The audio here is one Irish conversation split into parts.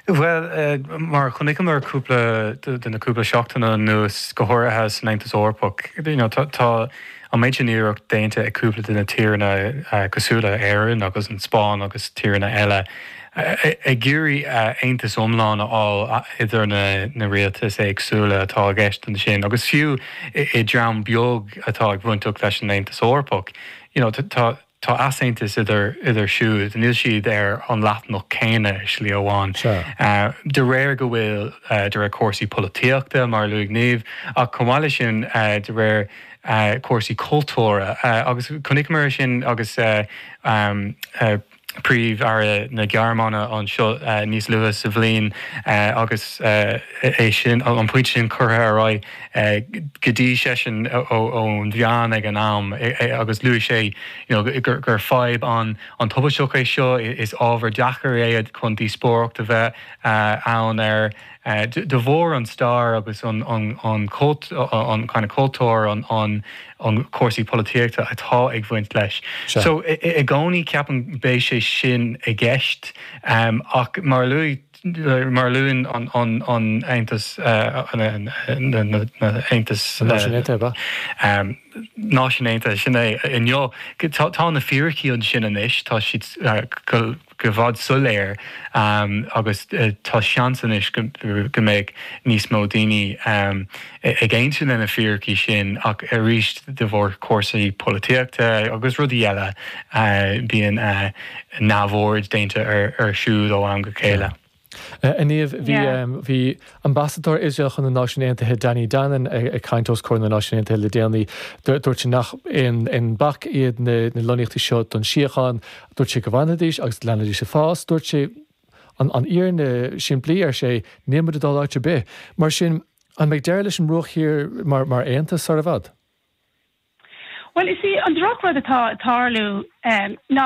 Bhuel, mar a chonaiceamar cúpla de na cúpla seachtain anuas, go háirithe san Aontas Eorpach, you know, tá an méid sin iarracht déanta ag cúpla de na tíreanna cosúil le Éirinn agus an Spáinn agus tíreanna eile ag iarraidh aontas iomlán a fháil idir na rialtais éagsúla atá i gceist ansin agus fiú i dream beag atá ag bainteach leis an Aontas Eorpach. You know, tá Tá easaontas idir idir siúd, níl siad ar an leathanach céanna i slí amháin. De réir go bhfuil, de réir cúrsaí polaitíochta, mar a luaigh Niamh, ach chomh maith leis sin de réir cúrsaí cultúrtha. Agus chonaiceamar é sin agus Príomh-Aire na Gearmáine anseo níos luaithe sa bhliain agus é sin, an pointe sin curtha ar aghaidh go dtí seisean ón mheán ag an am agus luaigh sé you know gur fadhb an-tubaisteach é seo, is ábhar deacair é chun díospóireacht a bheith ann air de bharr an stair agus an an kind of cultúr, an an cúrsaí polaitíochta atá ag bhaint leis. So i gcónaí ceapaim beidh sé sin i gceist ach mar a luaigh Mar a luann an Aontas, na Aontais. Náisiúin Aontaithe, ab ea? Náisiúin Aontaithe, sin é. Inniu, tá na fíricí ansin anois, tá siad go bhfad soiléir agus tá seans anois go mbeidh níos mó daoine ag aontú le na fíricí sin ach arís de bharr cúrsaí polaitíochta agus rudaí eile bíonn neamhaird déanta air siúd ó am go chéile. A Niamh, bhí bhí Ambasadóir Iosrael chun na Náisiún Aontaithe Danny Danon ag caint os comhair na Náisiún Aontaithe le déanaí. Dúirt sé nach aon bac iad na lonnaíochtaí seo don síocháin. Dúirt sé go bhfanfaidís agus leanfaidís ag fás. Dúirt sé an fhírinne simplí, ar sé, níl muid ag dul áit ar bith. Mar sin, an mbeidh deireadh leis an mBruach Thiar mar mar aontas sar i bhfad? Bhuel, is í an drochrud atá ag tarlú ná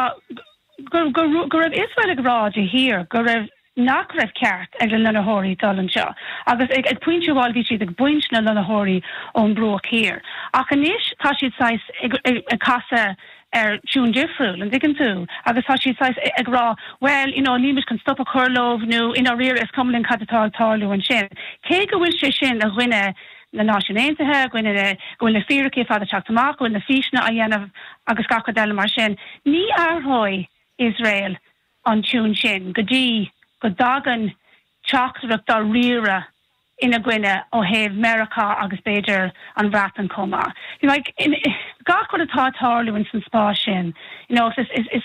go go go raibh Iosrael ag rá de shíor go raibh nach raibh ceart ag na lonnaitheoirí dul anseo agus ag ag pointe amháin bhí siad ag baint na lonnaitheoirí ón mBruach Thiar. Ach anois tá siad saghas ag ag ag casadh ar tiún difriúil, an dtuigeann tú? Agus tá siad saghas ag rá, bhuel, you know, níl muid chun stop a chur leo nó i ndáiríre is cuma linn cad atá ag tarlú ansin. Cé go bhfuil sé sin i gcoinne na Náisiún Aontaithe, i gcoinne na, go bhfuil na fíricí ar fad ag teacht amach, go bhfuil na físeanna á dhéanamh agus gach rud eile mar sin, ní athróidh Iosrael an tiún sin go dtí go dtagann teachtaireacht dáiríre ina gcoinne ó thaobh Meiriceá agus b'fhéidir an Bhreatain chomh maith. You know, like, in, gach rud atá ag tarlú ins an spás sin, you know, is, is, is,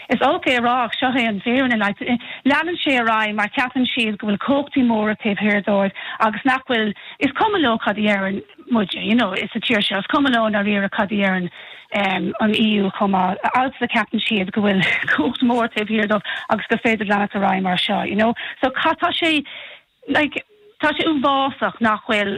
is olc é a rá ach seo é an fhírinne, like, leanann sé ar aghaidh mar ceapann siad go bhfuil cumhachtaí móra taobh thiar dóibh agus nach bhfuil, is cuma leo cad a dheireann muide, you know, sa tír seo, is cuma leo i ndáiríre cad a dheireann an EU chomh maith, alsa ceapann siad go bhfuil cumhacht mór taobh thiar dóibh agus gur féidir leanacht ar aghaidh mar seo, you know. So tá sé, like, tá sé uafásach nach bhfuil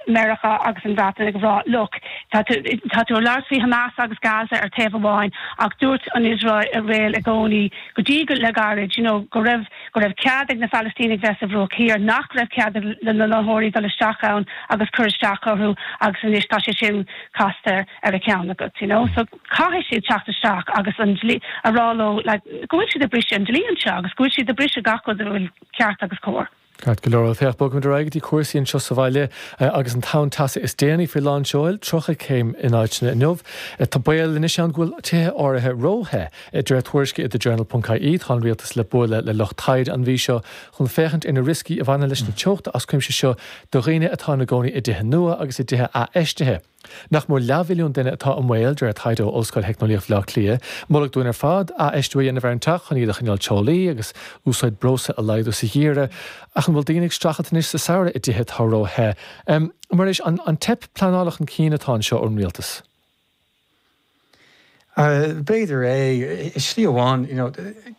Meiriceá agus an Bhreatain ag rá, look, tá tú, tá tú ag labhairt faoi Hamas agus Gaza ar taobh amháin ach dúirt an Iosrael i gcónaí go dtí go le gairid, you know, go raibh, go raibh cead ag na Palaistínigh bheith sa Bhruach Thiar, nach raibh cead ag na lonnaitheoirí dul isteach ann agus cur isteach orthu agus anois tá sé sin casta ar a cheann agat, you know. So caithfidh siad teacht isteach agus an dlí, a rá leo, like, go bhfuil siad ag briseadh an dlí anseo agus go bhfuil siad ag briseadh gach rud a bhfuil ceart agus cóir. Ceart go leor. Bhuel, féach, bogfaimid ar aghaidh go dtí cúrsaí anseo sa bhaile agus an tonn teasa is déanaí faoi lán seoil, 30 céim in áiteanna inniu. Tá baol anois ann go bhfuil tithe áirithe ró-the. De réir tuairisce i The Journal ponc ie, tá an rialtas le bualadh le lucht taighde an mhí seo chun féachaint ar na rioscaí a bhaineann leis na teochta as cuimse seo do dhaoine atá ina gcónaí i dtithe nua agus i dtithe athfheistithe. Nach mór leathmhilliún duine atá i mbaol, de réir taighde ó Ollscoil Theicneolaíocht Bhaile Átha Cliath. Moladh dúinn ar fad athfheistiú a dhéanamh ar an teach chun iad a choinneáil teolaí agus úsáid breosla a laghdú sa gheimhreadh. Ach an bhfuil daoine ag streachailt anois sa samhradh i dtithe atá ró-the? Muiris, an teip pleanála chun cinn atá anseo ón rialtas? B'fhéidir é. I slí amháin, you know,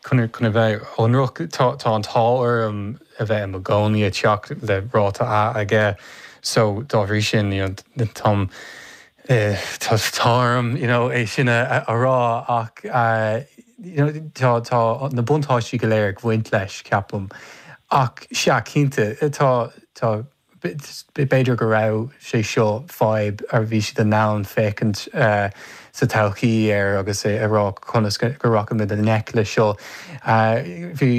chun a bheith ionraic, tá tá an t-ádh orm a bheith i mo gcónaí i dteach le ráta A aige so dá bhrí sin, you know, táim tá tá orm, you know, é sin a a rá ach you know, tá tá na buntáistí go léir ag bhaint leis, ceapaim. Ach sea, cinnte, tá tá B'fhéidir go raibh sé seo fadhb a bhí siad in ann féachaint sa todhchaí air agus a rá conas go rachaimid i ngleic le seo. Bhí.